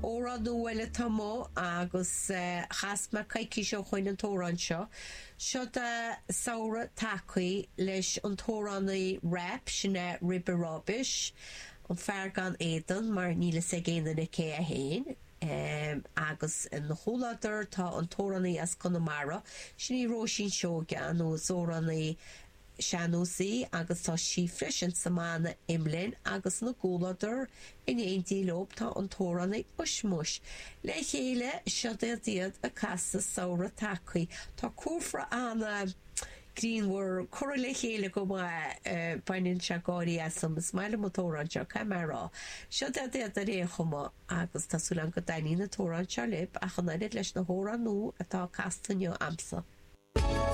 Amhrán nua eile atá amuigh agus chas mé coicís ó shoin an t-amhrán seo. Seod é Samhradh Tagthaí leis an t-amhránaí rap, sin é Ribe Ráibeis, an fear gan éadan, mar níl fhios ag aon duine cé é féin. Agus ina chomhluadar tá an t-amhránaí as Conamara, sin í Róisín Seoige, nó is amhránaí sean-nós í agus tá sí freisin sa mbanna Imlinn agus ina gcomhluadar in éindí leob tá an t-amhránaí Ushmush. Le chéile, seod iad iad ag casadh Samhradh Tagthaí. Tá cúfra ana grianmhar curtha le chéile go maith, baineann sé gáirí asam, is maith liom an t-amhrán seo, caithfidh mé a rá. Seod iad iad ar aon chuma agus tá súil agam go dtaitníonn an t-amhrán seo libh ach an oiread leis na hamhráin nua atá casta inniu a'msa.